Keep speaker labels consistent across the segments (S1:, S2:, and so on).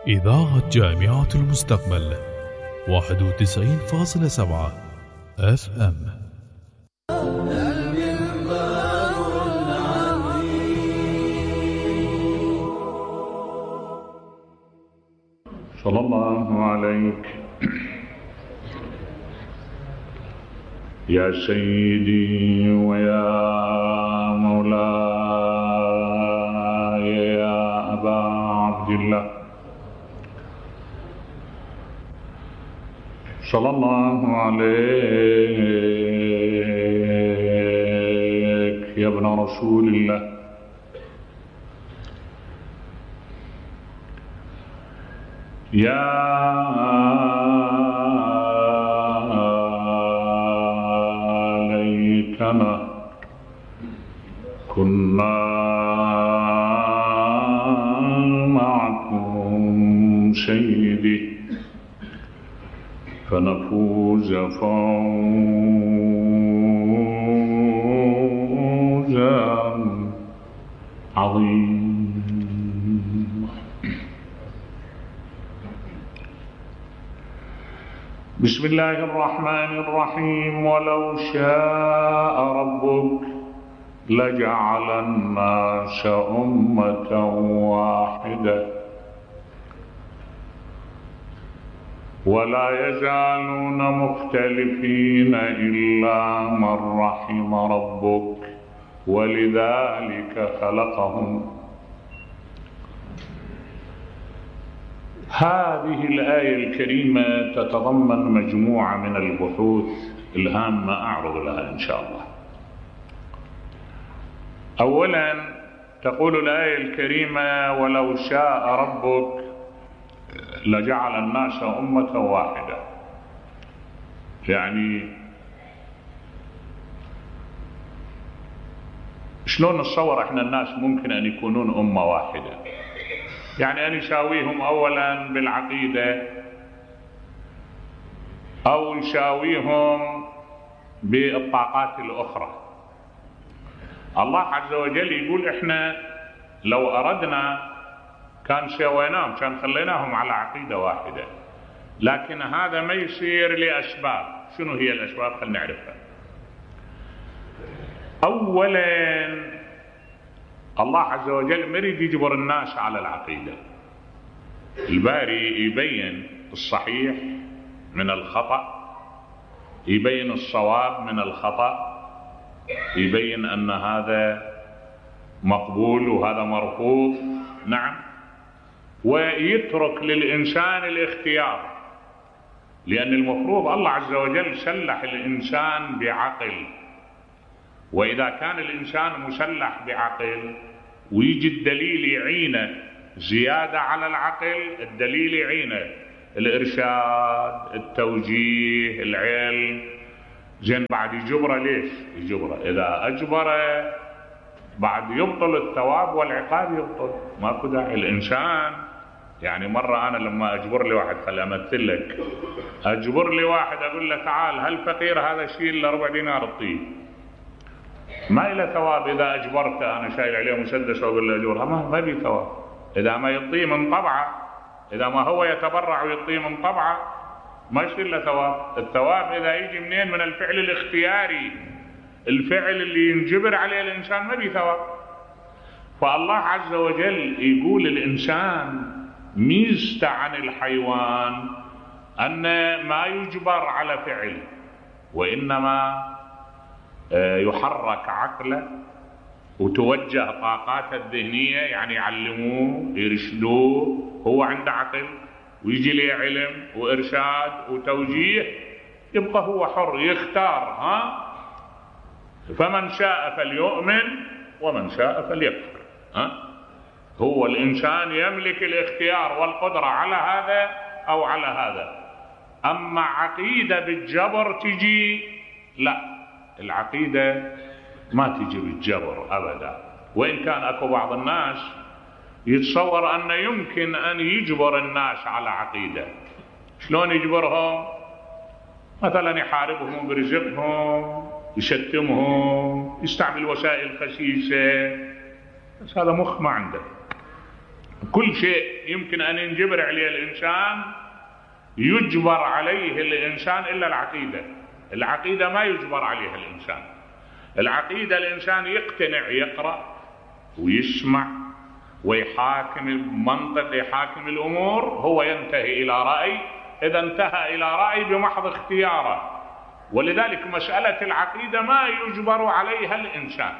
S1: إذاعة جامعة المستقبل 91.7 FM.
S2: صلى الله عليك يا سيدي ويا مولاي يا أبا عبد الله، صلى الله عليك يا ابن رسول الله، يا ليتنا كنا معكم سيدي فنفوز فوزا عظيما. بسم الله الرحمن الرحيم. ولو شاء ربك لجعل الناس أمة واحدة ولا يزالون مختلفين إلا من رحم ربك ولذلك خلقهم. هذه الآية الكريمة تتضمن مجموعة من البحوث الهامة أعرض لها إن شاء الله. أولا تقول الآية الكريمة ولو شاء ربك لجعل الناس أمة واحدة، يعني شلون نتصور احنا الناس ممكن أن يكونون أمة واحدة؟ يعني أن يساويهم أولا بالعقيدة أو يساويهم بالطاقات الأخرى. الله عز وجل يقول إحنا لو أردنا كان سويناهم، كان خليناهم على عقيدة واحدة، لكن هذا ما يصير لأسباب. شنو هي الأسباب؟ خلينا نعرفها. أولا الله عز وجل ما يريد يجبر الناس على العقيدة. الباري يبين الصحيح من الخطأ، يبين الصواب من الخطأ، يبين أن هذا مقبول وهذا مرفوض، نعم، ويترك للإنسان الاختيار، لأن المفروض الله عز وجل سلح الإنسان بعقل، وإذا كان الإنسان مسلح بعقل ويجي الدليل يعينه زيادة على العقل، الدليل يعينه الإرشاد، التوجيه، العلم، زين بعد يجبره. ليش يجبره؟ إذا أجبره بعد يبطل الثواب والعقاب، يبطل، ماكو داعي. الإنسان يعني مرة أنا لما أجبر لي واحد، خلي أمثل لك، أجبر لي واحد أقول له تعال هل فقير هذا شيل له 4 دينار اعطيه، ما إلى ثواب. إذا أجبرته أنا شايل عليه مسدس وأقول له أجورها، ما بي ثواب. إذا ما يعطيه من طبعه، إذا ما هو يتبرع ويعطيه من طبعه، ما يصير له ثواب. الثواب إذا يجي منين؟ من الفعل الاختياري، الفعل اللي ينجبر عليه الإنسان ما بي ثواب. فالله عز وجل يقول الإنسان ميزته عن الحيوان أن ما يجبر على فعل، وإنما يحرك عقله وتوجه طاقاته الذهنية، يعني يعلموه يرشدوه، هو عنده عقل ويجي له علم وإرشاد وتوجيه، يبقى هو حر يختار. فمن شاء فليؤمن ومن شاء فليكفر. هو الإنسان يملك الاختيار والقدرة على هذا أو على هذا. أما عقيدة بالجبر تجي، لا، العقيدة ما تجي بالجبر أبدا. وإن كان أكو بعض الناس يتصور أن يمكن أن يجبر الناس على عقيدة. شلون يجبرهم؟ مثلا يحاربهم برزقهم، يشتمهم، يستعمل وسائل خسيسة، بس هذا مخ ما عنده. كل شيء يمكن أن ينجبر عليه الإنسان يجبر عليه الإنسان إلا العقيدة. العقيدة ما يجبر عليها الإنسان. العقيدة الإنسان يقتنع، يقرأ ويسمع ويحاكم المنطق، يحاكم الأمور، هو ينتهي إلى رأي. إذا انتهى إلى رأي بمحض اختياره، ولذلك مسألة العقيدة ما يجبر عليها الإنسان.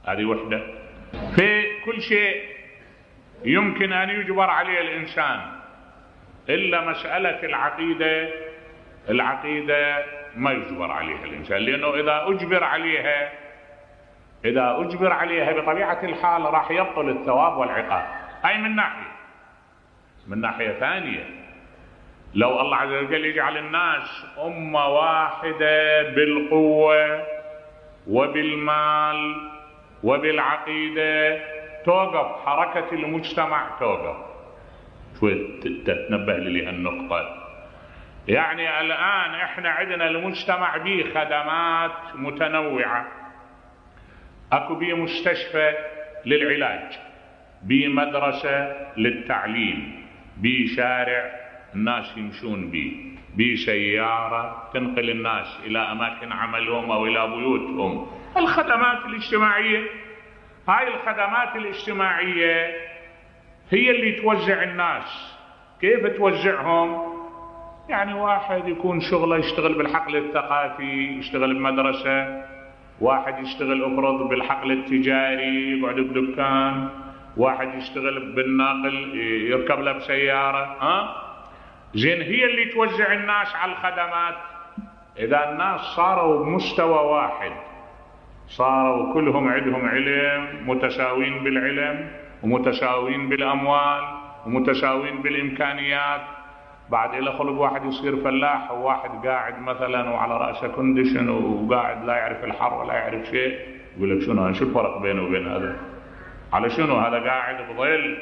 S2: هذه وحدة. في كل شيء يمكن أن يجبر عليه الإنسان إلا مسألة العقيدة. العقيدة ما يجبر عليها الإنسان، لأنه إذا أجبر عليها بطبيعة الحال راح يبطل الثواب والعقاب. هاي من ناحية ثانية، لو الله عز وجل يجعل الناس أمة واحدة بالقوة وبالمال وبالعقيدة، توقف حركة المجتمع، توقف. شوي تتنبه لي هالنقطة. يعني الآن احنا عندنا المجتمع به خدمات متنوعة، اكو بيه مستشفى للعلاج، بيه مدرسة للتعليم، بيه شارع الناس يمشون بيه، بيه سيارة تنقل الناس إلى أماكن عملهم أو إلى بيوتهم. الخدمات الاجتماعية، هاي الخدمات الاجتماعية هي اللي توزع الناس. كيف توزعهم؟ يعني واحد يكون شغله يشتغل بالحقل الثقافي، يشتغل بمدرسة، واحد يشتغل افرض بالحقل التجاري يقعد بدكان، واحد يشتغل بالناقل يركب له بسيارة. زين، هي اللي توزع الناس على الخدمات. إذا الناس صاروا بمستوى واحد، صاروا كلهم عندهم علم، متساوين بالعلم ومتساوين بالأموال ومتساوين بالإمكانيات، بعد إلى خلق واحد يصير فلاح وواحد قاعد مثلا وعلى رأسه كونديشن وقاعد لا يعرف الحر ولا يعرف شيء، يقول لك شو الفرق بينه وبين هذا؟ على شنو هذا قاعد بظل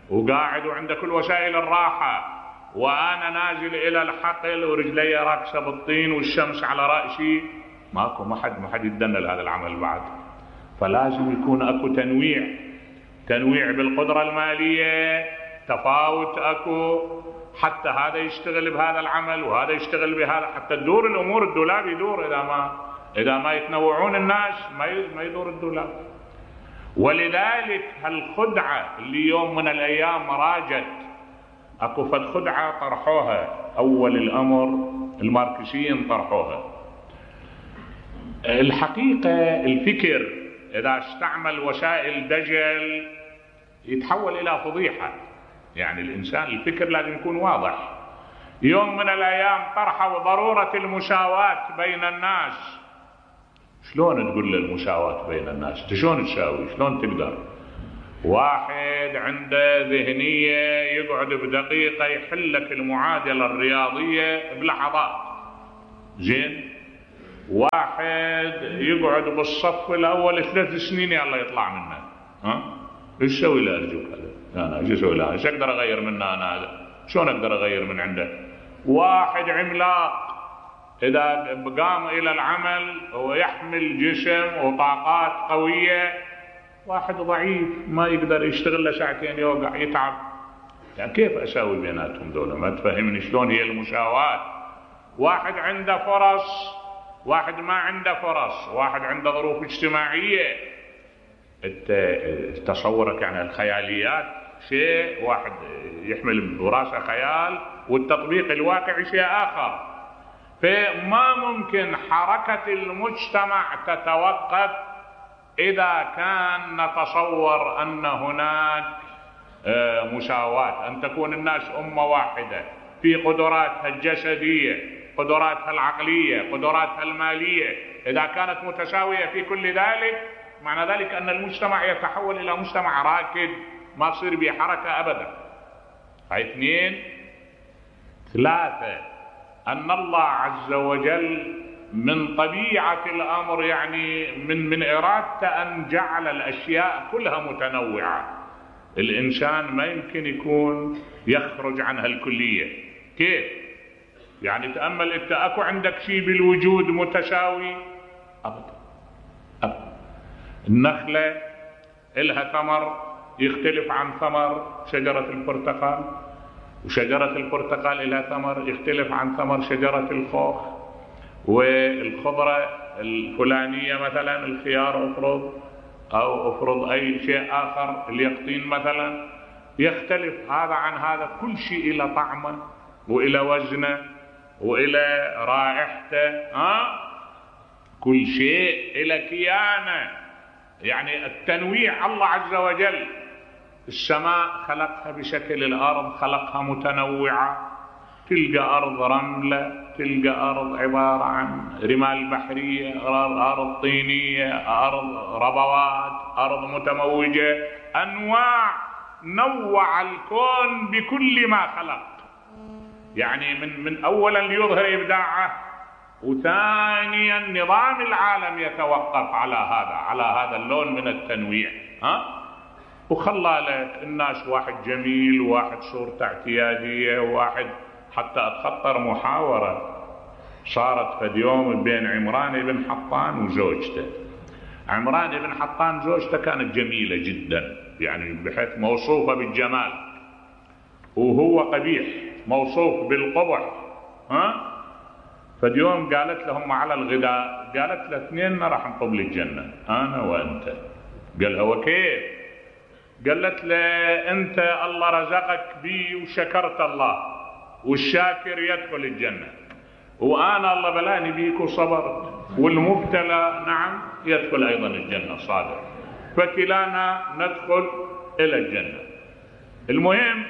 S2: وقاعد وعنده كل وسائل الراحة، وأنا نازل إلى الحقل ورجلي راكسة بالطين والشمس على رأسي؟ ماكو، ما حد يتدنى لهذا العمل بعد. فلازم يكون اكو تنويع بالقدرة المالية، تفاوت اكو، حتى هذا يشتغل بهذا العمل وهذا يشتغل بهذا، حتى تدور الامور. الدولاب يدور، اذا ما يتنوعون الناس ما يدور الدولاب. ولذلك هالخدعة اللي يوم من الايام راجت، اكو فد خدعة طرحوها اول الامر الماركسيين طرحوها. الحقيقة الفكر إذا استعمل وسائل دجل يتحول إلى فضيحة. يعني الإنسان الفكر لازم يكون واضح. يوم من الأيام طرحوا ضرورة المساواة بين الناس. شلون تقول المساواة بين الناس؟ شلون تساوي؟ شلون تقدر؟ واحد عنده ذهنية يقعد بدقيقة يحل لك المعادلة الرياضية بلحظات. زين، واحد يقعد بالصف الأول 3 سنين يلا يطلع منه. ايش سوي له أرجوك هذا؟ أنا ايش اسوي له؟ ايش أقدر أغير منه أنا هذا؟ شلون أقدر أغير من عنده؟ واحد عملاق إذا قام إلى العمل ويحمل جسم وطاقات قوية، واحد ضعيف ما يقدر يشتغل له ساعتين يوقع يتعب. يعني كيف أساوي بيناتهم دولة؟ ما تفهمني شلون هي المساواة. واحد عنده فرص، واحد ما عنده فرص، واحد عنده ظروف اجتماعية. تصورك يعني الخياليات شيء، واحد يحمل براسه خيال والتطبيق الواقعي شيء آخر. فما ممكن حركة المجتمع تتوقف إذا كان نتصور أن هناك مساواة، أن تكون الناس أمة واحدة في قدراتها الجسدية، قدراتها العقلية، قدراتها المالية. إذا كانت متساوية في كل ذلك، معنى ذلك أن المجتمع يتحول إلى مجتمع راكد ما تصير به حركة أبدا. هاي 2. 3، أن الله عز وجل من طبيعة الأمر، يعني من إرادته أن جعل الأشياء كلها متنوعة. الإنسان ما يمكن يكون يخرج عنها الكلية. كيف؟ يعني تأمل انت، اكو عندك شيء بالوجود متساوي؟ ابدا. النخلة إلها ثمر يختلف عن ثمر شجرة البرتقال، وشجرة البرتقال لها ثمر يختلف عن ثمر شجرة الخوخ، والخضرة الفلانية مثلا الخيار افرض اي شيء اخر اليقطين مثلا يختلف هذا عن هذا. كل شيء الى طعمه والى وزنه والى رائحته، كل شيء الى كيانه. يعني التنويع الله عز وجل، السماء خلقها بشكل الارض، خلقها متنوعة، تلقى ارض رملة، تلقى ارض عبارة عن رمال بحرية، ارض طينية، ارض ربوات، ارض متموجة، انواع. نوع الكون بكل ما خلق، يعني من اولا ليظهر ابداعه، وثانيا نظام العالم يتوقف على هذا اللون من التنويع. وخلى لك الناس واحد جميل، واحد صورته اعتيادية، واحد حتى اتخطر محاورة صارت فد يوم بين عمران بن حطان وزوجته. عمران بن حطان زوجته كانت جميلة جدا، يعني بحيث موصوفة بالجمال، وهو قبيح موصوف بالقبح. فد يوم قالت لهم على الغداء، قالت له اثنين راح نطب الجنة انا وانت. قال هو كيف؟ قالت له انت الله رزقك بي وشكرت الله، والشاكر يدخل الجنة، وانا الله بلاني بيك وصبرت، والمبتلى نعم يدخل ايضا الجنة صادق، فكلانا ندخل الى الجنة. المهم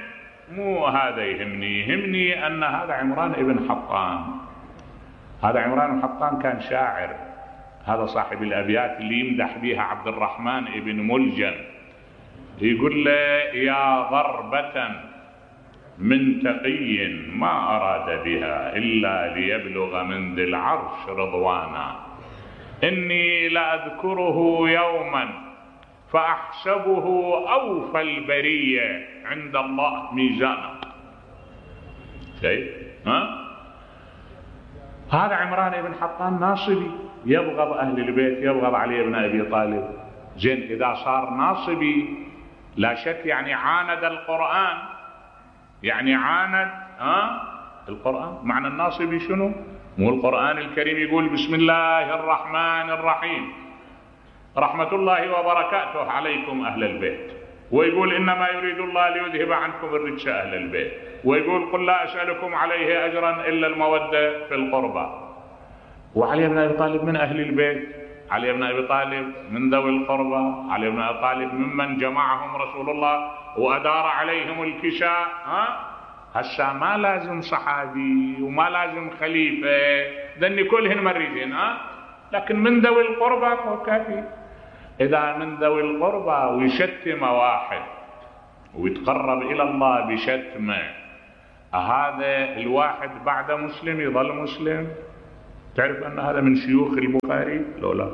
S2: مو هذا يهمني ان هذا عمران ابن حطان. هذا عمران بن حطان كان شاعر، هذا صاحب الابيات اللي يمدح بها عبد الرحمن ابن ملجم، يقول له يا ضربة من تقي ما أراد بها إلا ليبلغ من ذي العرش رضوانا، إني لأذكره يوما فأحسبه أوفى البرية عند الله ميزانا. شايف؟ هذا عمران بن حطان ناصبي، يبغض أهل البيت، يبغض علي بن أبي طالب. زين إذا صار ناصبي لا شك يعني عاند القرآن، يعني عاند القرآن. معنى الناصبي شنو؟ مو القرآن الكريم يقول بسم الله الرحمن الرحيم رحمة الله وبركاته عليكم أهل البيت، ويقول إنما يريد الله ليذهب عنكم الرجس أهل البيت، ويقول قل لا أسألكم عليه أجرا إلا المودة في القربى. وعلي بن أبي طالب من أهل البيت، علي بن أبي طالب من ذوي القربى، علي بن أبي طالب ممن جمعهم رسول الله وأدار عليهم الكساء. هسا ما لازم صحابي وما لازم خليفة، ذني كلهن مريضين، لكن من ذوي القربى فهو كافي. إذا من ذوي القربى ويشتم واحد ويتقرب إلى الله بشتمه، هذا الواحد بعد مسلم يظل مسلم؟ تعرف أن هذا من شيوخ البخاري؟ لا،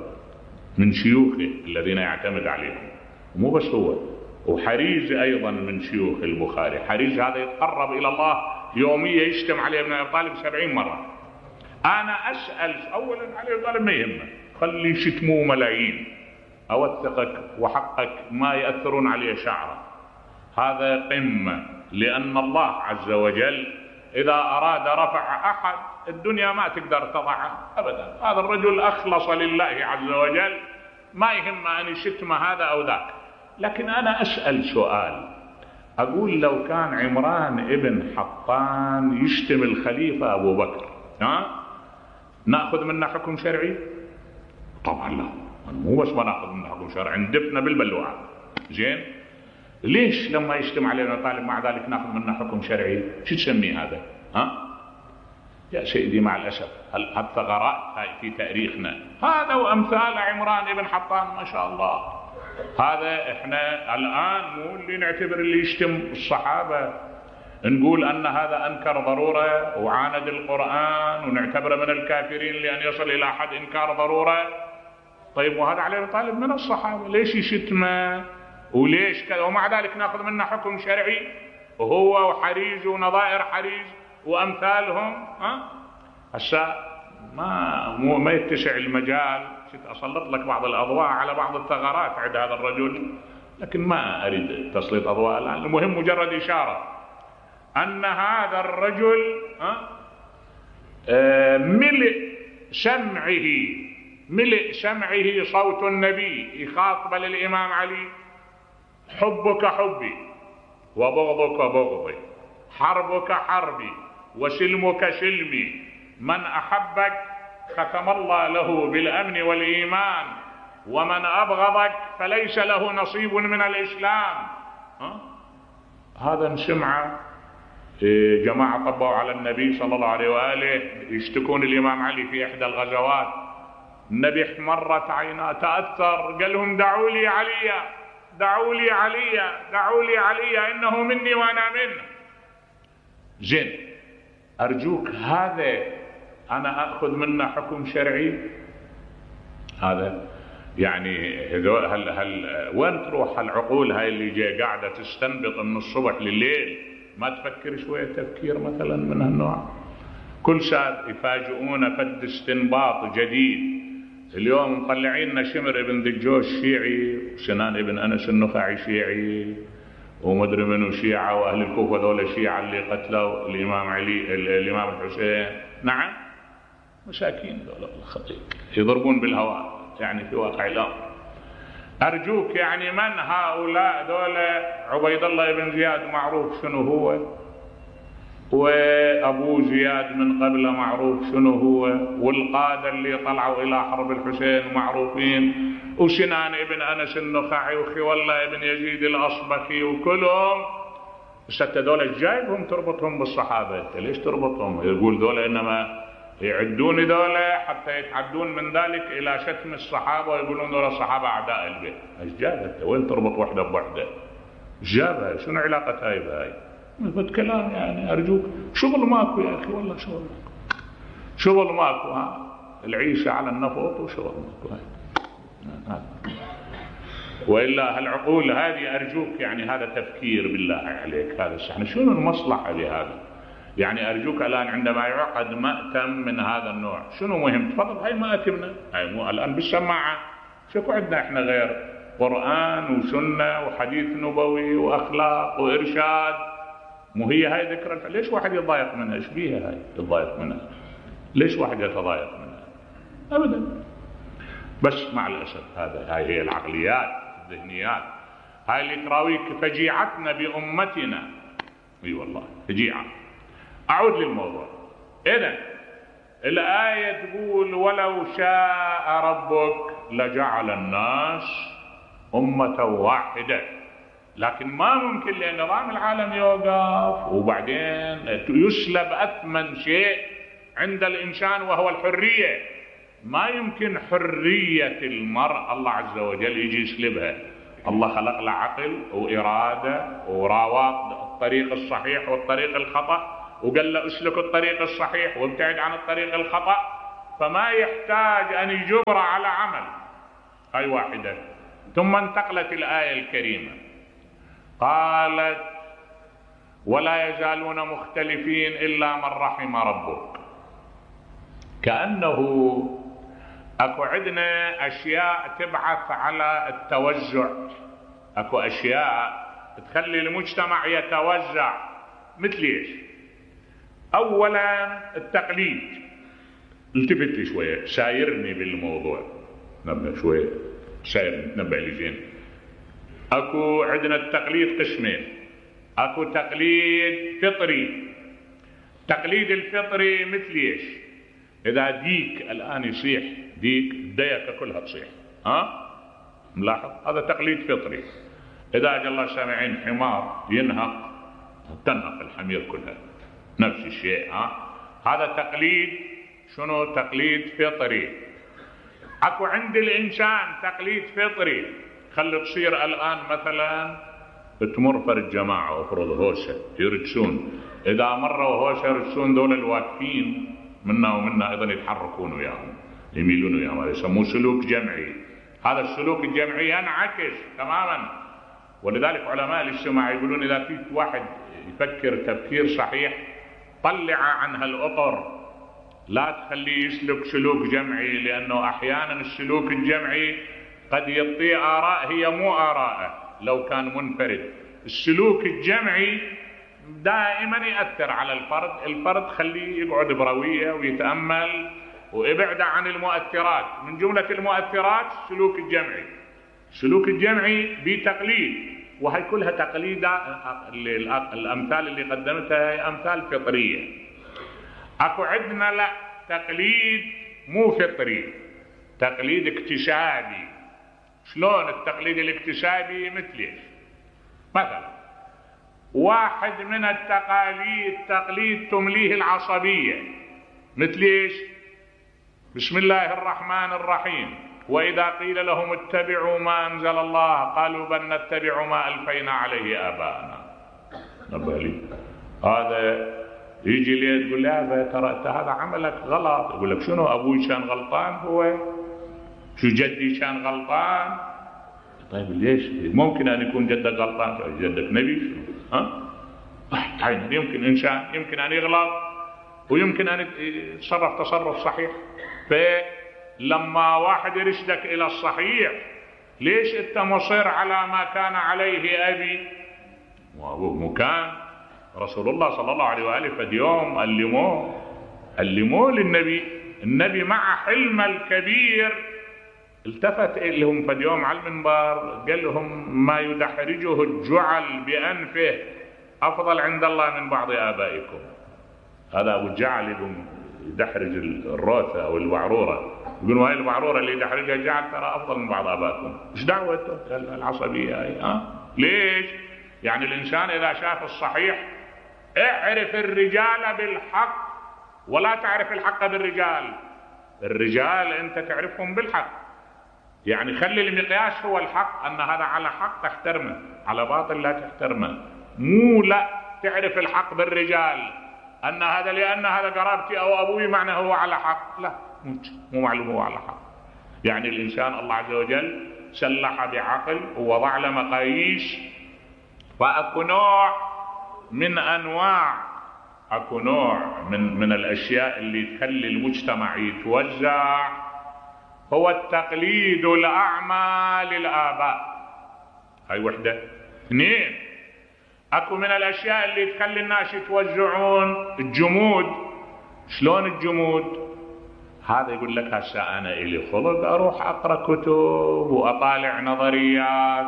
S2: من شيوخه الذين يعتمد عليهم. مو بس هو، وحريز أيضا من شيوخ البخاري. حريز هذا يتقرب إلى الله يوميا، يشتم علي بن أبي طالب 70 مرة. أنا أسأل أولا علي بن طالب ما يهمه، خلي يشتموه ملايين، أوثقك وحقك ما يأثرون عليه شعره. هذا قمة، لأن الله عز وجل إذا أراد رفع أحد الدنيا ما تقدر تضعه أبدا. هذا الرجل أخلص لله عز وجل، ما يهم أن يشتم هذا أو ذاك. لكن أنا أسأل سؤال، أقول لو كان عمران ابن حطان يشتم الخليفة أبو بكر، نأخذ منه حكم شرعي؟ طبعا لا، مو بس ما نأخذ منه حكم شرعي، ندفنا بالبلوعة. زين، ليش لما يشتم علينا طالب مع ذلك نأخذ منه حكم شرعي؟ شو تسميه هذا؟ يا سيدي مع الأسف هالثغرات هاي في تاريخنا، هذا وأمثال عمران ابن حطان ما شاء الله. هذا احنا الآن مو اللي نعتبر اللي يشتم الصحابة نقول أن هذا أنكر ضرورة وعاند القرآن ونعتبره من الكافرين لأن يصل إلى حد إنكار ضرورة. طيب وهذا علي بن طالب من الصحابة، ليش يشتمه وليش كذا؟ ومع ذلك ناخذ منه حكم شرعي، وهو وحريز ونظائر حريز وأمثالهم. هسا ما يتسع المجال. أسلط لك بعض الأضواء على بعض الثغرات عند هذا الرجل، لكن ما أريد تسليط أضواء الآن. المهم مجرد إشارة أن هذا الرجل ملء سمعه صوت النبي يخاطب للإمام علي: حبك حبي وبغضك بغضي، حربك حربي وسلمك سلمي، من أحبك ختم الله له بالأمن والإيمان، ومن أبغضك فليس له نصيب من الإسلام. هذا نسمعه جماعة طبوا على النبي صلى الله عليه وآله يشتكون الإمام علي في إحدى الغزوات، النبي احمرت عيناه تأثر، قال لهم: دعوا لي عليا، دعوا لي عليا، دعوا لي عليا، إنه مني وأنا منه. زين، أرجوك هذا أنا أخذ منه حكم شرعي؟ هذا يعني هل وين تروح العقول هاي اللي جاي قاعدة تستنبط من الصبح لليل؟ ما تفكر شوية تفكير مثلا من هالنوع؟ كل ساعة يفاجئونا فد استنباط جديد. اليوم مطلعين لنا شمر ابن دجوش شيعي، وسنان ابن أنس النخعي شيعي، ومدري منو شيعة، وأهل الكوفة ذولا شيعة اللي قتلوا الإمام علي الإمام الحسين. نعم، مساكين ذولا الخطيب يضربون بالهواء يعني في واقع الأمر. أرجوك يعني من هؤلاء ذولا؟ عبيد الله بن زياد معروف شنو هو، وأبو زياد من قبله معروف شنو هو، والقادة اللي طلعوا إلى حرب الحسين معروفين، وسنان ابن أنس النخعي، وخولة ابن يزيد الأصبخي، وكلهم. بس دول جايبهم تربطهم بالصحابة، ليش تربطهم؟ يقول دول إنما يعدون دولة حتى يتعدون من ذلك إلى شتم الصحابة، ويقولون دول الصحابة أعداء البيت. ايش جابت؟ وين تربط وحدة بوحدة؟ ايش جابها؟ شنو علاقة هاي بهاي؟ مثل كلام يعني. أرجوك شغل ماكو يا أخي، والله شغل ماكو، شغل ماكو. العيشة على النفط وشغل ماكو هاي. وإلا هالعقول هذه أرجوك يعني هذا تفكير بالله عليك. هذا احنا شنو المصلحة بهذا؟ يعني أرجوك الآن عندما يعقد مأتم من هذا النوع شنو مهم؟ تفضل، هاي مآتمنا، هاي مو الآن بالسماعة. شكو عندنا احنا غير قرآن وسنة وحديث نبوي وأخلاق وإرشاد؟ مو هي هاي ذكرى؟ ليش واحد يتضايق منها؟ ايش بيها هاي تتضايق منها؟ ليش واحد يتضايق منها؟ أبدا. بس مع الأسف هاي هي العقليات الذهنيات، هاي اللي تراويك فجيعتنا بأمتنا. اي والله فجيعة. أعود للموضوع. إذن الآية تقول: ولو شاء ربك لجعل الناس أمة واحدة. لكن ما ممكن، لأن نظام العالم يوقف، وبعدين يسلب أثمن شيء عند الإنسان وهو الحرية. ما يمكن حرية المرء الله عز وجل يجي يسلبها. الله خلق له عقل وإرادة وراوات الطريق الصحيح والطريق الخطأ، وقال له اسلك الطريق الصحيح وابتعد عن الطريق الخطأ، فما يحتاج أن يجبر على عمل. هاي واحدة. ثم انتقلت الآية الكريمة قالت: ولا يزالون مختلفين إلا من رحم ربك. كأنه أكو عندنا أشياء تبعث على التوزع، أكو أشياء تخلي المجتمع يتوزع. مثل إيش؟ أولا التقليد. التفت لي شوية، سايرني بالموضوع، نبه شوية، سايرني، تنبه لي زين. أكو عندنا التقليد قسمين. أكو تقليد فطري. تقليد الفطري مثل إيش؟ إذا ديك الآن يصيح، ديك الديكة كلها تصيح، ملاحظ؟ هذا تقليد فطري. إذا أجى الله سامعين حمار ينهق، تنهق الحمير كلها، نفس الشيء. هذا تقليد شنو؟ تقليد فطري. أكو عند الإنسان تقليد فطري. خلي تصير الآن مثلا تمر فرد جماعة وفرض هوسة يرجسون، إذا مروا هوسة يرجسون دول الواقفين منا ومنا أيضا يتحركون وياهم، يميلون وياهم. هذا يسموه سلوك جمعي. هذا السلوك الجمعي ينعكس تماما. ولذلك علماء الاجتماع يقولون إذا في واحد يفكر تفكير صحيح طلع عن هالأطر، لا تخليه يسلك سلوك جمعي، لأنه أحيانا السلوك الجمعي قد يعطي آراء هي مو آراءه، لو كان منفرد. السلوك الجمعي دائما يأثر على الفرد خليه يقعد بروية ويتأمل ويبعد عن المؤثرات. من جملة المؤثرات السلوك الجمعي. السلوك الجمعي بتقليد، وهي كلها تقليد. الأمثال اللي قدمتها هي أمثال فطرية. أكو عندنا لا تقليد مو فطري، تقليد اكتسابي. شلون التقليد الاكتسابي؟ مثلا واحد من التقاليد تقليد تمليه العصبية، مثل ايش؟ بسم الله الرحمن الرحيم، وإذا قيل لهم اتبعوا ما أنزل الله قالوا بل نتبع ما ألفينا عليه آباءنا. نبالي هذا يجي لي تقول له ترى انت هذا عملك غلط. يقول لك شنو أبوي كان غلطان؟ هو شو جدي كان غلطان؟ طيب ليش؟ ممكن أن يكون جدك غلطان. جدك نبي؟ يمكن إنسان يمكن أن يغلط ويمكن أن يتصرف تصرف صحيح. فلما واحد يرشدك إلى الصحيح، ليش أنت مصر على ما كان عليه أبي وأبوه؟ مكان رسول الله صلى الله عليه وآله فد يوم علموه للنبي. النبي مع حلم الكبير التفت لهم فد يوم على المنبر قال لهم ما يدحرجه الجعل بأنفه أفضل عند الله من بعض آبائكم. هذا أبو الجعل يدحرج الروثة أو الوعرورة، يقولوا هاي الوعرورة اللي يدحرجها الجعل ترى أفضل من بعض آبائكم. إيش دعوته العصبية هاي؟ ليش؟ يعني الإنسان إذا شاف الصحيح، اعرف الرجال بالحق ولا تعرف الحق بالرجال. الرجال أنت تعرفهم بالحق، يعني خلي المقياس هو الحق، أن هذا على حق تحترمه، على باطل لا تحترمه. مو لا تعرف الحق بالرجال أن هذا لأن هذا قرابتي أو أبوي معنى هو على حق. لا، مو معلوم هو على حق. يعني الإنسان الله عز وجل سلح بعقل ووضع له مقاييس. فأكو نوع من أنواع، أكو نوع من الأشياء اللي تخلي المجتمع يتوزع، هو التقليد الأعمى للآباء. هاي وحدة. اثنين، أكو من الأشياء اللي تخلي الناس يتوزعون الجمود. شلون الجمود؟ هذا يقول لك هسه أنا إلي خلق أروح أقرأ كتب وأطالع نظريات،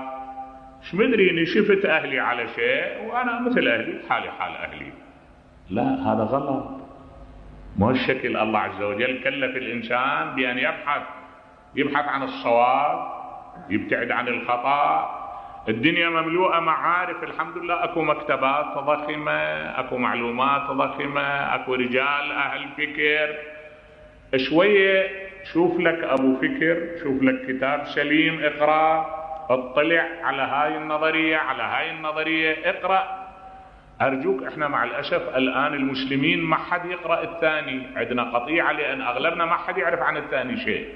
S2: مش مدري إني شفت أهلي على شيء وأنا مثل أهلي حالي حال أهلي. لا، هذا غلط. مو الشكل. الله عز وجل كلف الإنسان بأن يبحث عن الصواب، يبتعد عن الخطأ. الدنيا مملوءة معارف الحمد لله. أكو مكتبات ضخمة، أكو معلومات ضخمة، أكو رجال أهل فكر. شوية شوف لك أبو فكر، شوف لك كتاب سليم اقرأ، اطلع على هاي النظرية على هاي النظرية، اقرأ. أرجوك، احنا مع الأسف الآن المسلمين ما حد يقرأ الثاني. عندنا قطيعة لأن أغلبنا ما حد يعرف عن الثاني شيء.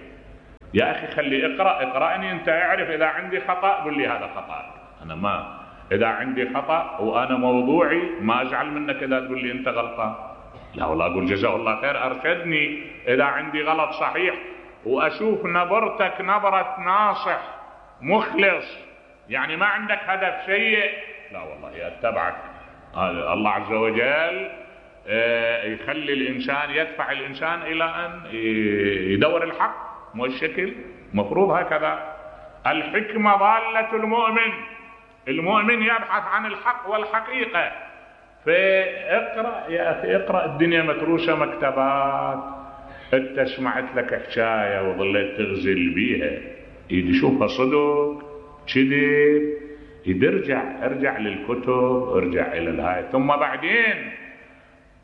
S2: يا أخي خلي اقرأني أنت، اعرف إذا عندي خطأ قل لي هذا خطأ. أنا ما إذا عندي خطأ وأنا موضوعي ما أزعل منك إذا تقول لي أنت غلطان. لا والله أقول جزاه الله خير أرشدني إذا عندي غلط صحيح، وأشوف نبرتك نبرة ناصح مخلص، يعني ما عندك هدف سيء. لا والله أتبعك. الله عز وجل يخلي الإنسان، يدفع الإنسان إلى أن يدور الحق. مو الشكل مفروض هكذا. الحكمة ضالة المؤمن. المؤمن يبحث عن الحق والحقيقة. فاقرأ يا أخي، اقرأ. الدنيا متروسة مكتبات. انت سمعت لك حكاية وظليت تغزل بيها، يشوفها صدق كذب، ارجع للكتب، ارجع إلى الهاي. ثم بعدين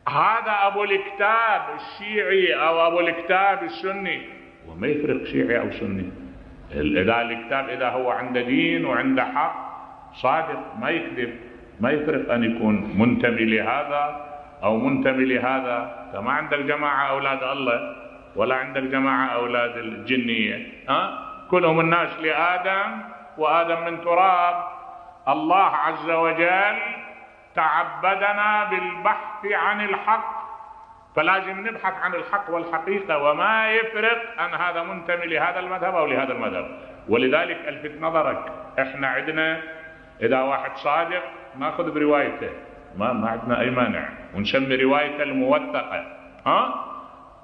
S2: هذا أبو الكتاب الشيعي أو أبو الكتاب السني، وما يفرق شيعي أو سني. إذا الكتاب إذا هو عنده دين وعنده حق صادق ما يكذب، ما يفرق أن يكون منتمي لهذا أو منتمي لهذا. كما عندك جماعة أولاد الله ولا عندك جماعة أولاد الجنية، كلهم الناس لآدم وآدم من تراب. الله عز وجل تعبدنا بالبحث عن الحق، فلازم نبحث عن الحق والحقيقة، وما يفرق أن هذا منتمي لهذا المذهب أو لهذا المذهب. ولذلك الفت نظرك، احنا عندنا إذا واحد صادق ناخذ بروايته، ما عندنا أي مانع، ونسمي روايته الموثقة.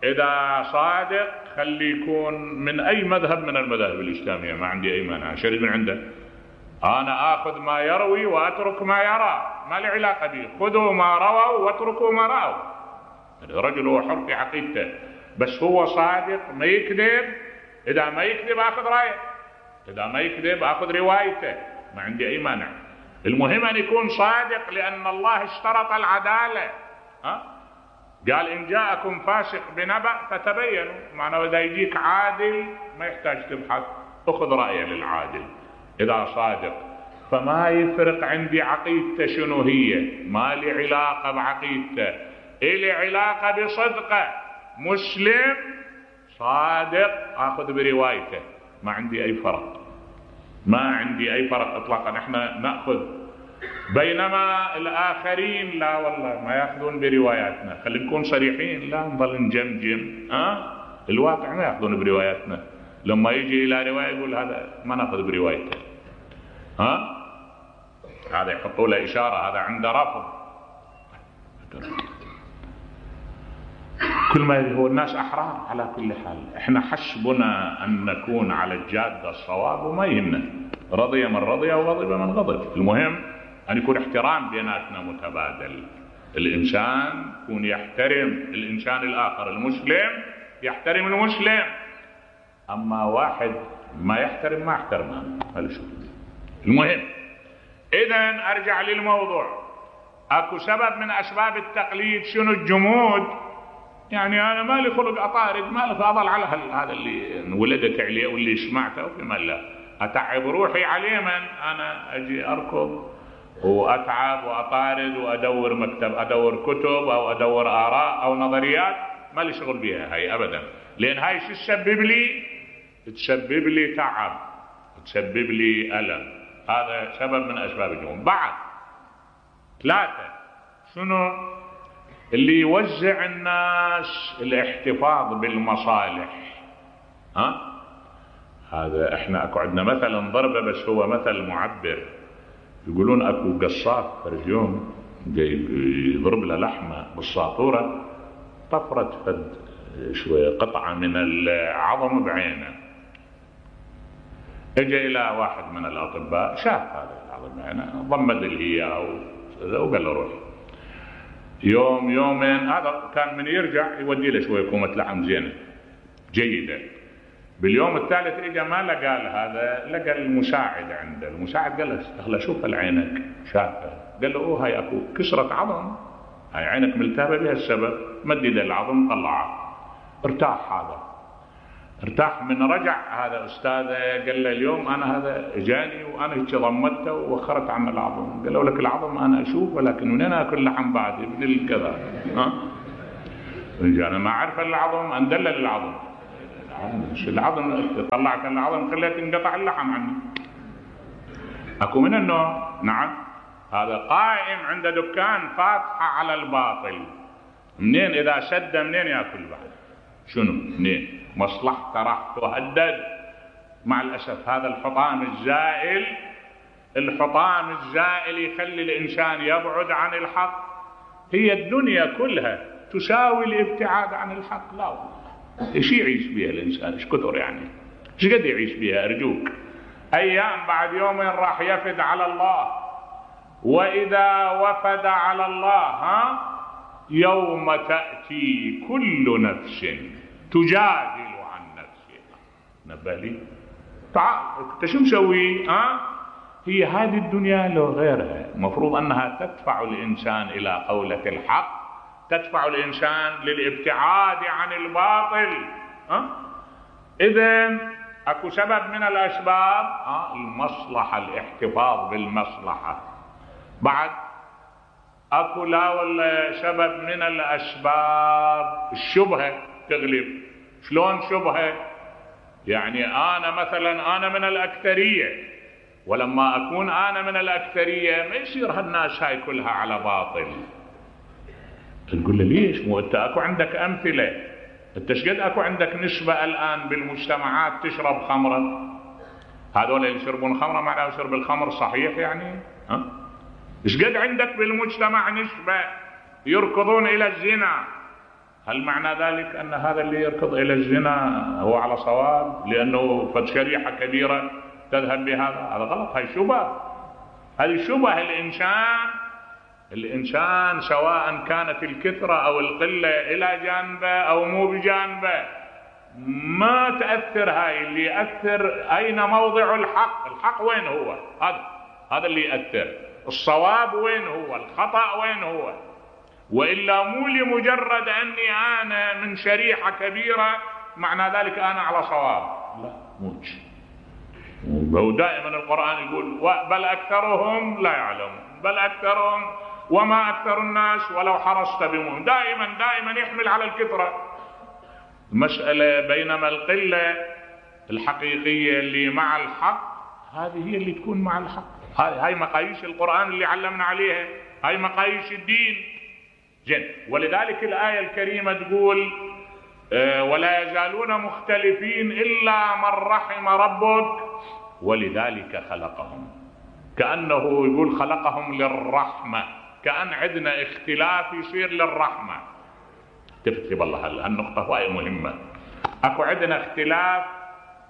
S2: إذا صادق خلي يكون من أي مذهب من المذاهب الإسلامية، ما عندي أي مانع، شريط من عنده. أنا آخذ ما يروي وأترك ما يرى، ما لي علاقة به. خذوا ما رووا واتركوا ما رأوا. الرجل هو حر في عقيدته، بس هو صادق ما يكذب. إذا ما يكذب آخذ رأيه، إذا ما يكذب آخذ روايته، ما عندي أي مانع. المهم أن يكون صادق، لأن الله اشترط العدالة. قال إن جاءكم فاسق بنبأ فتبينوا، معناه إذا يجيك عادل ما يحتاج تبحث، أخذ رأيه للعادل إذا صادق. فما يفرق عندي عقيدته شنو هي، ما لي علاقة بعقيدته، إلي علاقة بصدقه. مسلم صادق آخذ بروايته، ما عندي أي فرق، ما عندي أي فرق إطلاقا. احنا نأخذ، بينما الآخرين لا والله ما يأخذون برواياتنا. خلينا نكون صريحين، لا نظل نجمجم. الواقع ما يأخذون برواياتنا. لما يجي إلى رواية يقول هذا ما نأخذ بروايته، هذا يحطوا له إشارة، هذا عنده رفض. كل ما هو الناس أحرار على كل حال. احنا حسبنا أن نكون على الجادة الصواب، وما يهمنا رضي من رضي وغضب من غضب. المهم أن يكون احترام بيناتنا متبادل. الإنسان يكون يحترم الإنسان الآخر، المسلم يحترم المسلم. أما واحد ما يحترم ما احترمه، هذا شو. المهم إذن أرجع للموضوع. أكو سبب من أسباب التقليد شنو؟ الجمود. يعني أنا ما لي خلق أطارد، ما لي أضل على هذا اللي ولدت عليه واللي سمعته وفيما لا أتعب روحي عليه. من أنا أجي أركض وأتعب وأطارد وأدور مكتب، أدور كتب أو أدور آراء أو نظريات، ما لي شغل بها هاي أبدا. لأن هاي شو تسبب لي؟ تسبب لي تعب، تسبب لي ألم. هذا سبب من أسباب الجمود. بعد 3 شنو؟ اللي يوزع الناس الاحتفاظ بالمصالح. هذا احنا اكو عندنا مثلا ضربه، بس هو مثل معبر. يقولون اكو قصاف فرد يوم جاي يضرب له لحمه بالساطوره، طفرت فد شويه قطعه من العظم بعينه. اجى الى واحد من الاطباء، شاف هذا العظم بعينه، ضمد الهياء وقال له روح. يوم يومين هذا كان من يرجع يودي له شويه كومه لحم زينه جيده. باليوم الثالث اجى ما لقى هذا، لقى المساعد عنده. المساعد قال له استغل شوف عينك، شافه. قال له هاي اكو كسره عظم، هاي عينك ملتهبه بها السبب. مدد العظم طلعه، ارتاح. هذا ارتاح. من رجع هذا استاذه قال له اليوم انا هذا اجاني وانا هيك ضمته ووخرت عن العظم. قال له لك العظم انا اشوف، ولكن منين اكل لحم بعد ابن كذا. انا ما اعرف العظم، اندلل العظم. العظم طلعت العظم خليت انقطع اللحم عني. اكو من النوع. نعم، هذا قائم عند دكان فاتحه على الباطل. منين اذا سد منين ياكل بعد؟ شنو منين؟ مصلحته راح تهدد. مع الأسف هذا الحطام الزائل، الحطام الزائل يخلي الإنسان يبعد عن الحق. هي الدنيا كلها تساوي الابتعاد عن الحق؟ لا والله. ايش يعيش بها الإنسان؟ ايش كثر يعني؟ ايش قد يعيش بها؟ أرجوك. أيام بعد يومين راح يفد على الله. وإذا وفد على الله يوم تأتي كل نفس تجادل عن نفسها. نبه لي تعال انت شو مسوي؟ هي هذه الدنيا لو غيرها مفروض انها تدفع الانسان الى قولة الحق، تدفع الانسان للابتعاد عن الباطل. اذن اكو سبب من الاسباب المصلحة، الاحتفاظ بالمصلحة. بعد اكو لا ولا سبب من الاسباب الشبهة تغلب. شلون شبهة؟ يعني انا مثلا انا من الاكثرية، ولما اكون انا من الاكثرية ما يصير هالناس هاي كلها على باطل. تقول له ليش؟ مو انت اكو عندك امثلة. انت شقد اكو عندك نسبة الان بالمجتمعات تشرب خمرة؟ هذول اللي يشربون خمرة معناه شرب الخمر صحيح يعني؟ ايش قد عندك بالمجتمع نسبة يركضون الى الزنا؟ هل معنى ذلك ان هذا اللي يركض الى الزنا هو على صواب لانه قد شريحة كبيرة تذهب بهذا؟ هذا غلط، هاي شبهة، هذه شبهة. الانسان سواء كانت الكثرة او القلة الى جانبه او مو بجانبه ما تأثر. هاي اللي يأثر اين موضع الحق وين هو، هذا اللي يأثر. الصواب وين هو، الخطأ وين هو. وإلا مو لمجرد أني أنا من شريحة كبيرة معنى ذلك أنا على صواب، لا موش. ودائما القرآن يقول بل أكثرهم لا يعلمون، بل أكثرهم وما أكثر الناس ولو حرصت بمؤمن. دائما يحمل على الكثرة المسألة، بينما القلة الحقيقية اللي مع الحق هذه هي اللي تكون مع الحق. هاي مقاييس القرآن اللي علمنا عليها، هاي مقاييس الدين. ولذلك الآية الكريمة تقول ولا يزالون مختلفين إلا من رحم ربك ولذلك خلقهم. كأنه يقول خلقهم للرحمة، كأن عندنا اختلاف يصير للرحمة. تكتب الله هالنقطة وهي مهمة. اكو عندنا اختلاف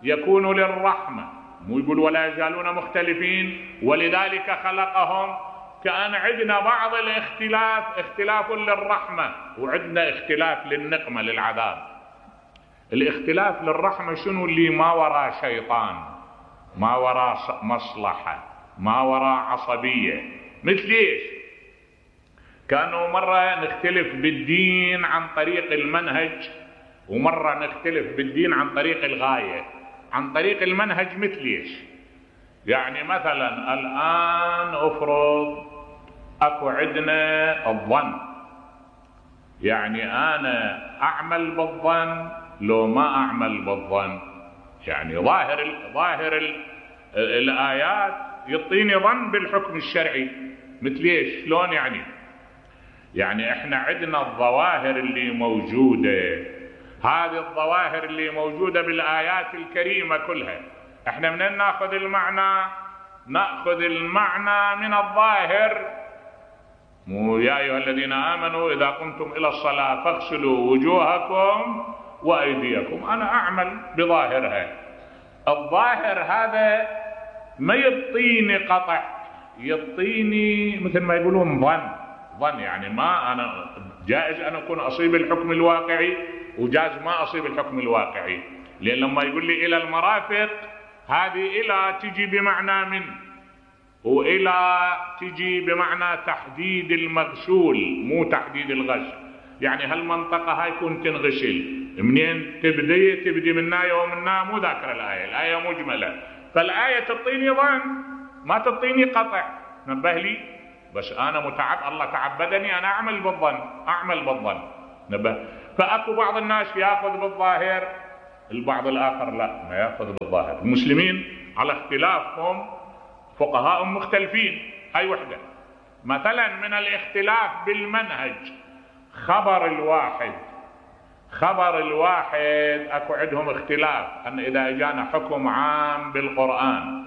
S2: يكون للرحمة، مو يقول ولا يزالون مختلفين ولذلك خلقهم. كأن عندنا بعض الاختلاف اختلاف للرحمة، وعندنا اختلاف للنقمة للعذاب. الاختلاف للرحمة شنو؟ اللي ما وراء شيطان، ما وراء مصلحة، ما وراء عصبية. مثل ايش؟ كانوا مرة نختلف بالدين عن طريق المنهج، ومرة نختلف بالدين عن طريق الغاية. عن طريق المنهج مثل ايش؟ يعني مثلا الآن افرض اكو عندنا الظن، يعني انا اعمل بالظن لو ما اعمل بالظن. يعني ظاهر الايات يعطيني ظن بالحكم الشرعي. مثل ايش؟ شلون يعني احنا عندنا الظواهر اللي موجودة، هذه الظواهر اللي موجودة بالآيات الكريمة كلها احنا منين ناخذ المعنى؟ ناخذ المعنى من الظاهر. مو يا ايها الذين امنوا اذا قمتم الى الصلاة فاغسلوا وجوهكم وايديكم. انا اعمل بظاهرها. الظاهر هذا ما يعطيني قطع، يعطيني مثل ما يقولون ظن. يعني ما انا جائز ان اكون اصيب الحكم الواقعي وجائز ما اصيب الحكم الواقعي. لان لما يقول لي الى المرافق، هذه الى تجي بمعنى من، والى تجي بمعنى تحديد المغسول مو تحديد الغسل. يعني هالمنطقة هاي كنت تنغسل منين؟ تبدي منا ومنا، مو ذاكر الآية مجملة. فالآية تعطيني ظن ما تعطيني قطع. نبه لي بس انا الله تعبدني انا اعمل بالظن. نبه. فاكو بعض الناس ياخذ بالظاهر، البعض الاخر لا ما ياخذ بالظاهر. المسلمين على اختلافهم، فقهاء مختلفين. هاي وحدة. مثلا من الاختلاف بالمنهج خبر الواحد اكو عندهم اختلاف ان اذا اجانا حكم عام بالقرآن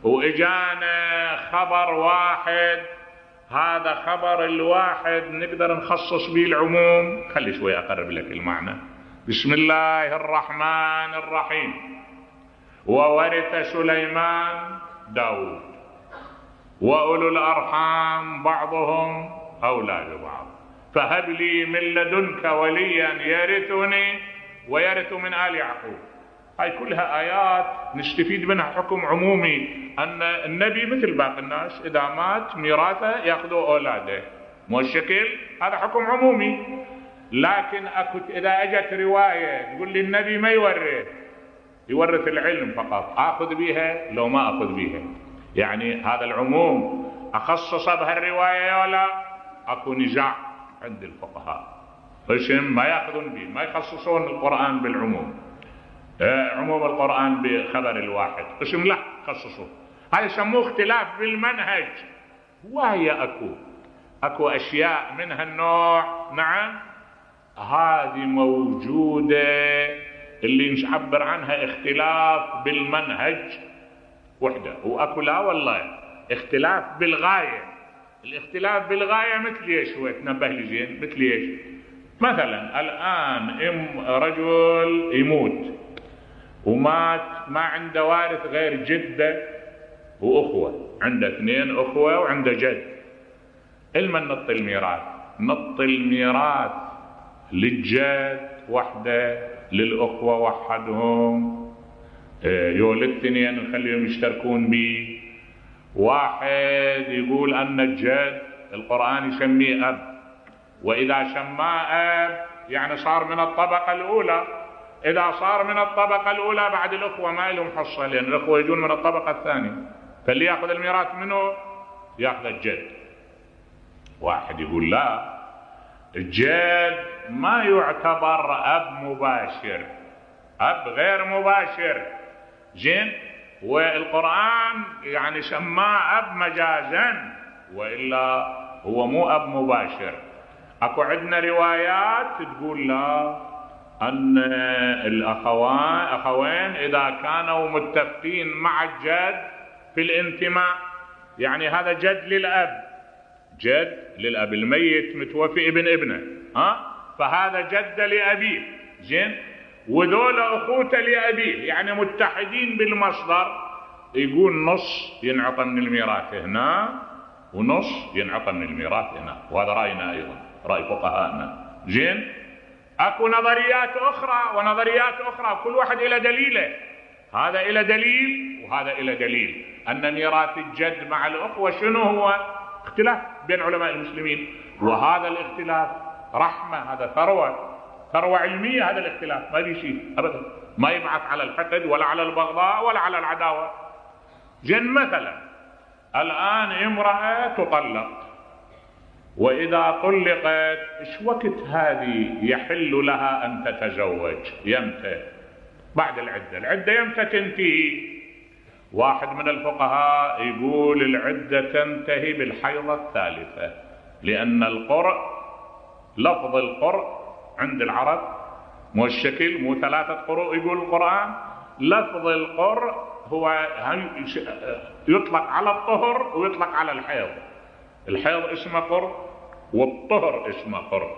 S2: واجانا خبر واحد، هذا خبر الواحد نقدر نخصص به العموم. خلي شوي اقرب لك المعنى. بسم الله الرحمن الرحيم. وورث سليمان داود وأولو الأرحام بعضهم أولى ببعض فهب لي من لدنك وليا يرثني ويرث من آل يعقوب. هاي كلها آيات نستفيد منها حكم عمومي، أن النبي مثل باقي الناس إذا مات ميراثه يأخذوا أولاده، مو الشكل. هذا حكم عمومي. لكن إذا أجت رواية تقول لي النبي ما يورث العلم فقط، أخذ بها لو ما أخذ بها. يعني هذا العموم أخصص بهالرواية ولا أكو نزاع عند الفقهاء، ما يأخذون به، ما يخصصون القرآن بالعموم. عموم القرآن بخبر الواحد قسم لا خصصوه. هذا يسموه اختلاف بالمنهج. وهي أكو أشياء من هالنوع. نعم هذه موجودة اللي نعبر عنها اختلاف بالمنهج. وحدة. واكو لا والله اختلاف بالغاية. الاختلاف بالغاية مثل ايش؟ هو تنبه لي زين مثل ايش؟ مثلا الان رجل يموت ومات ما عنده وارث غير جدة واخوة، عنده 2 اخوة وعنده جد. المن نط الميراث؟ نط الميراث للجد وحده، للاخوة وحدهم، يولد 2 نخليهم يشتركون بيه. واحد يقول ان الجد القرآن يسميه اب، واذا سماه اب يعني صار من الطبقة الاولى. اذا صار من الطبقة الاولى بعد الاخوة ما لهم حصة، لان الاخوة يجون من الطبقة الثانية، فاللي ياخذ الميراث منه ياخذ الجد. واحد يقول لا، الجد ما يعتبر اب مباشر، اب غير مباشر، زين، والقرآن يعني سماه اب مجازا، والا هو مو اب مباشر. اكو عندنا روايات تقول لا، ان الاخوين اذا كانوا متفقين مع الجد في الانتماء، يعني هذا جد للاب، جد للاب، الميت متوفي ابن ابنه، فهذا جد لابيه، زين، وذول اخوته لابيه، يعني متحدين بالمصدر. يقول نص ينعطى من الميراث هنا ونص ينعطى من الميراث هنا، وهذا راينا ايضا، راي فقهائنا، زين. اكو نظريات اخرى ونظريات اخرى، كل واحد الى دليله، هذا الى دليل وهذا الى دليل، ان ميراث الجد مع الاخوه شنو هو؟ اختلاف بين علماء المسلمين، وهذا الاختلاف رحمه، هذا ثروه علميه، هذا الاختلاف ما في شيء ابدا، ما يبعث على الحقد ولا على البغضاء ولا على العداوه. جن مثلا الان امراه تطلق، واذا طلقت ايش وقت هذه يحل لها ان تتزوج؟ يمتى؟ بعد العده يمتى تنتهي؟ واحد من الفقهاء يقول العده تنتهي بالحيضه الثالثه، لان القرء، لفظ القرء عند العرب مو الشكل، مو 3 قروء يقول القرآن، لفظ القرء هو يطلق على الطهر ويطلق على الحيض. الحيض اسمه قرء والطهر اسمه قرء،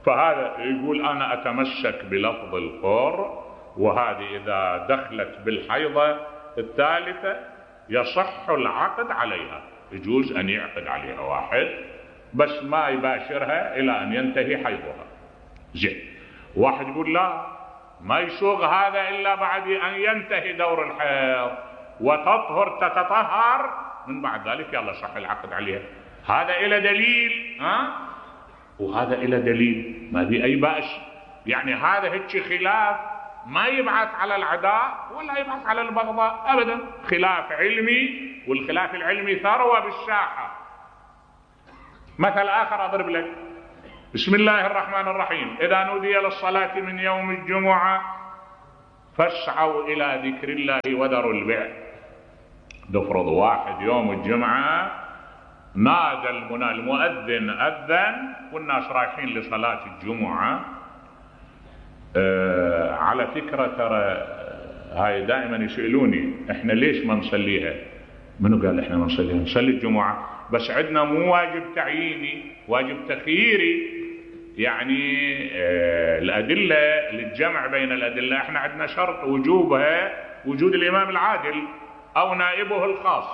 S2: فهذا يقول انا اتمسك بلفظ القرء، وهذه اذا دخلت بالحيضة الثالثة يصح العقد عليها، يجوز ان يعقد عليها واحد بس ما يباشرها الى ان ينتهي حيضها، زين. واحد يقول لا، ما يسوغ هذا الا بعد ان ينتهي دور الحيض وتطهر تتطهر، من بعد ذلك يلا صح العقد عليها. هذا الى دليل، وهذا الى دليل، ما في اي بأس. يعني هذا هيك خلاف ما يبعث على العداء ولا يبعث على البغضاء ابدا، خلاف علمي، والخلاف العلمي ثروة بالساحة. مثل اخر اضرب لك، بسم الله الرحمن الرحيم، إذا نودي للصلاة من يوم الجمعة فاسعوا إلى ذكر الله وذروا البيع. نفرض واحد يوم الجمعة نادى المؤذن أذن والناس رايحين لصلاة الجمعة. على فكرة ترى هاي دائما يسألوني احنا ليش ما نصليها؟ منو قال احنا ما نصليها؟ نصلي الجمعة بس عندنا مو واجب تعييني، واجب تخييري. يعني الأدلة للجمع بين الأدلة احنا عندنا شرط وجوبها وجود الإمام العادل أو نائبه الخاص،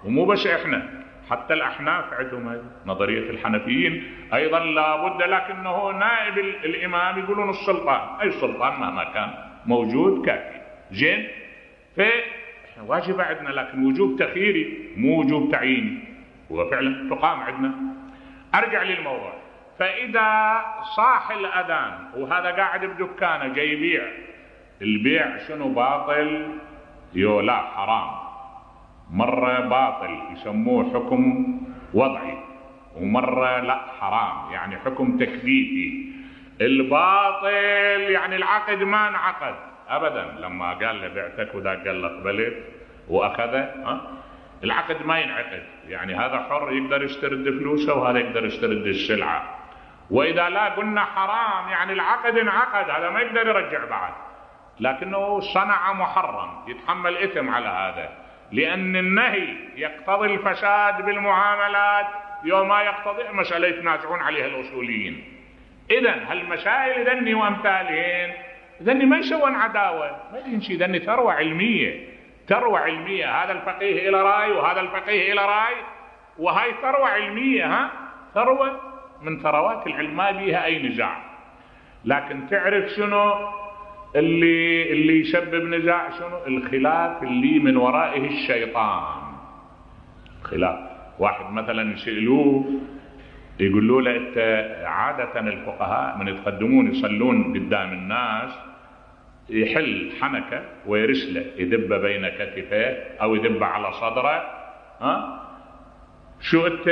S2: ومو بس احنا، حتى الأحناف عندهم نظرية الحنفيين أيضا لابد، لكنه نائب الإمام يقولون السلطان، أي سلطان مهما كان موجود كافي، زين. فواجب عندنا لكن وجوب تخييري مو وجوب تعييني، وفعلا تقام عندنا. أرجع للموضوع، فإذا صاح الأذان وهذا قاعد بدكانه جاي يبيع، البيع شنو باطل؟ لا حرام، مرة باطل يسموه حكم وضعي، ومرة لا حرام يعني حكم تكليفي. الباطل يعني العقد ما انعقد أبدا، لما قال له بعتك وذاك قال له قبلت وأخذه، العقد ما ينعقد، يعني هذا حر يقدر يسترد فلوسه وهذا يقدر يسترد السلعة. وإذا لا قلنا حرام يعني العقد انعقد، هذا ما يقدر يرجع بعد، لكنه صنع محرم يتحمل إثم على هذا. لأن النهي يقتضي الفساد بالمعاملات يوم ما يقتضي مسألة يتنازعون عليها الأصوليين. إذن هالمسائل ذني وأمثالهن ذني ما يسوون عداوة، ما ينشي ذني ثروة علمية، ثروة علمية. هذا الفقيه إلى رأي وهذا الفقيه إلى رأي، وهاي ثروة علمية، ثروة من ثروات العلم ما بيها أي نزاع. لكن تعرف شنو اللي يسبب نزاع؟ شنو؟ الخلاف اللي من ورائه الشيطان. خلاف واحد مثلا يسألوه يقولوا له انت عادة الفقهاء من يتقدمون يصلون قدام الناس يحل حنكة ويرسله يدب بين كتفيه او يدب على صدره، شو انت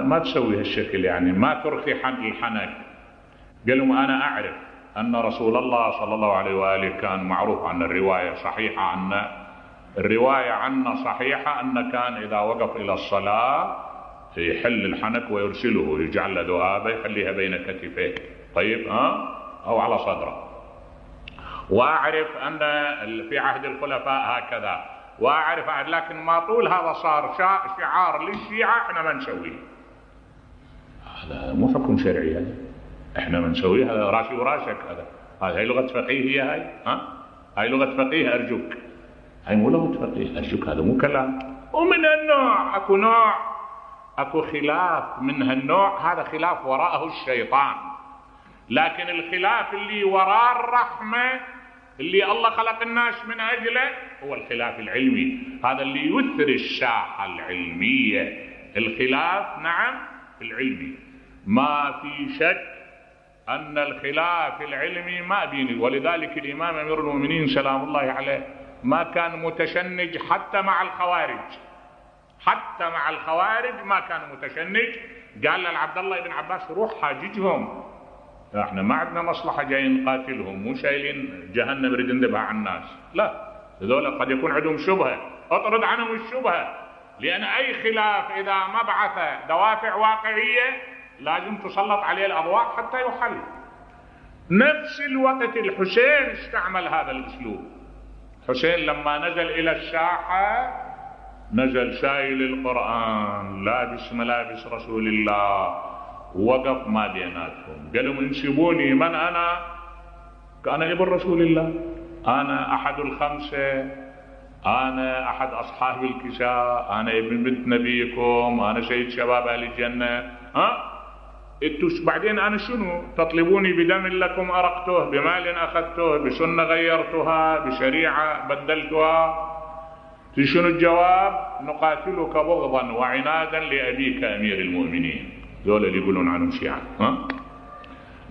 S2: ما تسوي هالشكل، يعني ما ترخي الحنك. قال لهم انا اعرف ان رسول الله صلى الله عليه وآله كان معروف عن الرواية صحيحة عنا، الرواية عنا صحيحة أن كان إذا وقف إلى الصلاة يحل الحنك ويرسله، يجعل له ذؤابة يخليها بين كتفيه، طيب أو على صدره. وأعرف أن في عهد الخلفاء هكذا، وأعرف لكن ما طول هذا صار شعار للشيعة احنا ما نسويه. هذا مو حكم شرعي، هذا احنا ما نسويه، هذا راسي وراسك، هاي لغة فقيه، هاي لغة فقيه أرجوك، هاي مو لغة فقيه أرجوك، هذا مو كلام. ومن النوع اكو خلاف من هالنوع، هذا خلاف وراءه الشيطان. لكن الخلاف اللي وراء الرحمة اللي الله خلق الناس من أجله هو الخلاف العلمي، هذا اللي يثري الساحة العلمية. الخلاف نعم العلمي، ما في شك أن الخلاف العلمي ما بيني. ولذلك الإمام أمير المؤمنين سلام الله عليه ما كان متشنج حتى مع الخوارج، حتى مع الخوارج ما كان متشنج. قال لعبد الله بن عباس روح حاججهم، احنا ما عندنا مصلحة جايين نقاتلهم، مو شايلين جهنم نريد ندبها على الناس، لا، هذول قد يكون عندهم شبهة، اطرد عنهم الشبهة. لأن أي خلاف إذا ما بعث دوافع واقعية لازم تسلط عليه الأضواء حتى يحل. نفس الوقت الحسين استعمل هذا الأسلوب. حسين لما نزل إلى الساحة نزل شايل القرآن، لابس ملابس رسول الله، وقف ما بيناتهم، قال لهم انسبوني من أنا؟ أنا ابن رسول الله، أنا أحد الخمسة، أنا أحد أصحاب الكساء، أنا ابن بنت نبيكم، أنا سيد شباب أهل الجنة. بعدين أنا شنو؟ تطلبوني بدم لكم أرقته، بمال أخذته، بسنة غيرتها، بشريعة بدلتها. شنو الجواب؟ نقاتلك بغضا وعنادا لأبيك أمير المؤمنين. ذولا اللي يقولون عنهم شيعة،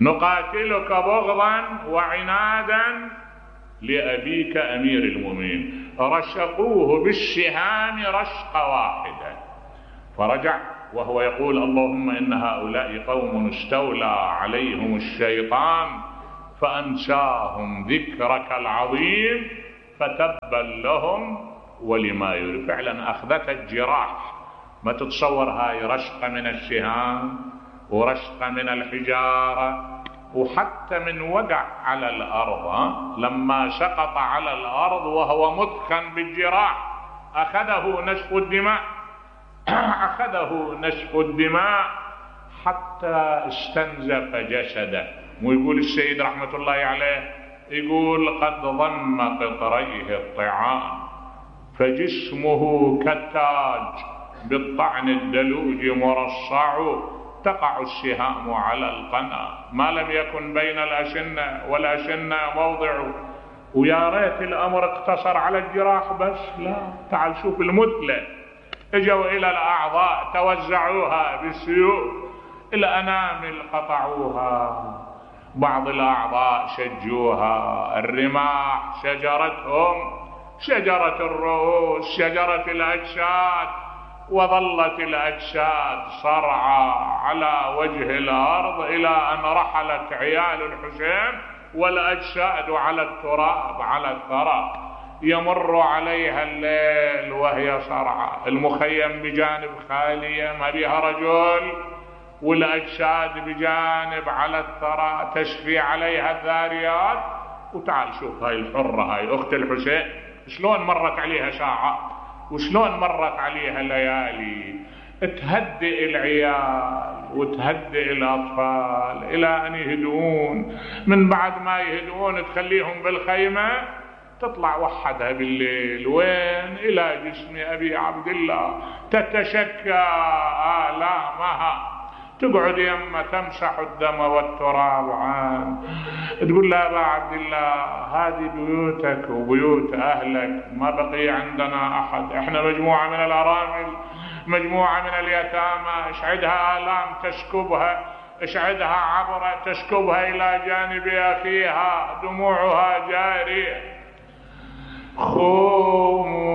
S2: نقاتلك بغضا وعنادا لأبيك أمير المؤمنين. رشقوه بالسهام رشقة واحدة، فرجع وهو يقول اللهم إن هؤلاء قوم استولى عليهم الشيطان فأنساهم ذكرك العظيم فتبا لهم ولما يريد. فعلا أخذت الجراح. ما تتصور هاي رشقة من السهام ورشقة من الحجارة، وحتى من وقع على الأرض، لما سقط على الأرض وهو مثخن بالجراح أخذه نشف الدماء، أخذه نشف الدماء حتى استنزف جسده. ويقول السيد رحمة الله عليه، يقول قد ضم قطريه الطعام فجسمه كالتاج بالطعن الدلوج مرصع، تقع السهام على القنا ما لم يكن بين الأشنة والأشنة موضع. ويا ريت الأمر اقتصر على الجراح بس، لا، تعال شوف المثلة، اجوا إلى الأعضاء توزعوها بالسيوف، الأنامل قطعوها، بعض الأعضاء شجوها، الرماح شجرتهم، شجرة الرؤوس، شجرة الأجساد، وظلت الأجساد صرعى على وجه الأرض إلى أن رحلت عيال الحسين والأجساد على التراب على الثرى. يمر عليها الليل وهي صرعى، المخيم بجانب خالية ما بها رجل، والأجساد بجانب على الثرى تشفي عليها الذاريات. وتعال شوف هاي الحرة، هاي أخت الحسين، شلون مرت عليها ساعات وشلون مرت عليها ليالي، تهدئ العيال وتهدئ الأطفال إلى أن يهدؤون. من بعد ما يهدؤون تخليهم بالخيمة، تطلع وحدها بالليل وين؟ إلى جسم أبي عبد الله، تتشكى آلامها، تقعد يمه تمسح الدم والتراب عنه، تقول له أبا عبد الله هذه بيوتك وبيوت أهلك، ما بقي عندنا أحد، إحنا مجموعة من الأرامل، مجموعة من اليتامى، اشعدها آلام تسكبها، اشعدها عبرة تسكبها إلى جانب أخيها، دموعها جارية. قوموا